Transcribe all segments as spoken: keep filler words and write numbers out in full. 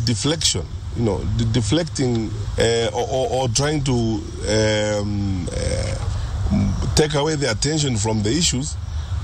Deflection, you know, de-, deflecting, uh, or, or, or trying to um, uh, take away the attention from the issues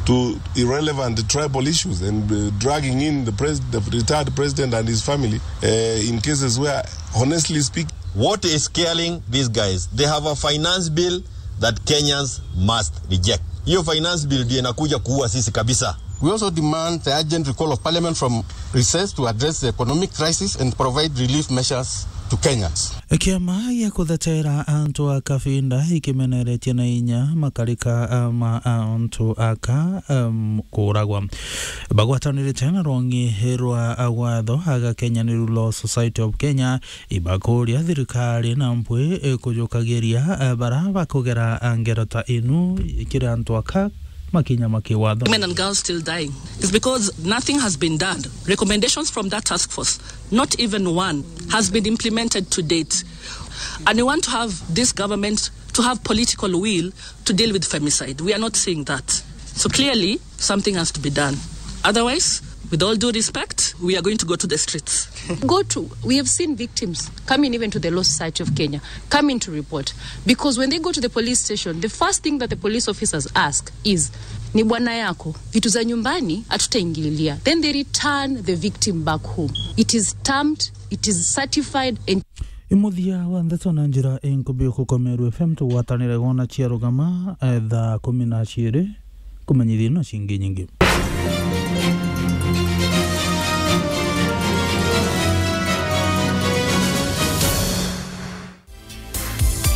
to irrelevant tribal issues and uh, dragging in the, pres- the retired president and his family uh, in cases where, honestly speaking, what is killing these guys? They have a finance bill that Kenyans must reject. Hiyo finance bill ndio inakuja kuua sisi kabisa. We also demand the urgent recall of parliament from recess to address the economic crisis and provide relief measures to Kenyans. Kiama gia kuthetera antu a Kafinda ikimeneretie na inya makarika ma antu aka um, kuragwa. Bagwatanirite na rwongi rwa watho aga Kenya ni Law Society of Kenya ibakuria thirikari na mpwi kujukagiria bara bakugera ngero ta inu kiri antu aka makinya ma kiwatho. Women and girls still dying is because nothing has been done. Recommendations from that task force, not even one, has been implemented to date. And we want to have this government to have political will to deal with femicide. We are not seeing that. So clearly, something has to be done. Otherwise, with all due respect, we are going to go to the streets. Go to, we have seen victims coming even to the Law Society of Kenya, coming to report. Because when they go to the police station, the first thing that the police officers ask is, ni bwana yako, vitu za nyumbani hatutaingililia. Then they return the victim back home. It is stamped, it is certified and Imuthia wa ndeto na njira inkubi ukukomerwa F M tugwatanire gwona cia rugama, eh, thaa kumi na ciiri, kumenyithia na cingi nyingi.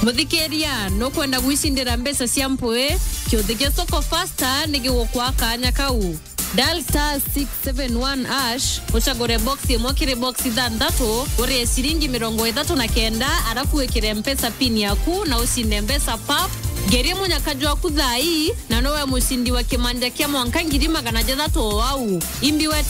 Muthikiria, nukwenda gwicindira mbeca cia mpwi? Kiuthi gia Soko Fasta ni gigukwa kanya kau. Dial star six seven one hash, ucagure box imwe kiri box ithanthatu, urie ciringi mirongo ithatu na kenda, arafu wikire Mpesa pin yaku na ucinde mbeca pap. Ngerie munyaka jwaku thaa ii, na nowe mucindi wa kimanja kia mwanka ngiri magana jathatu o au. Imbi wete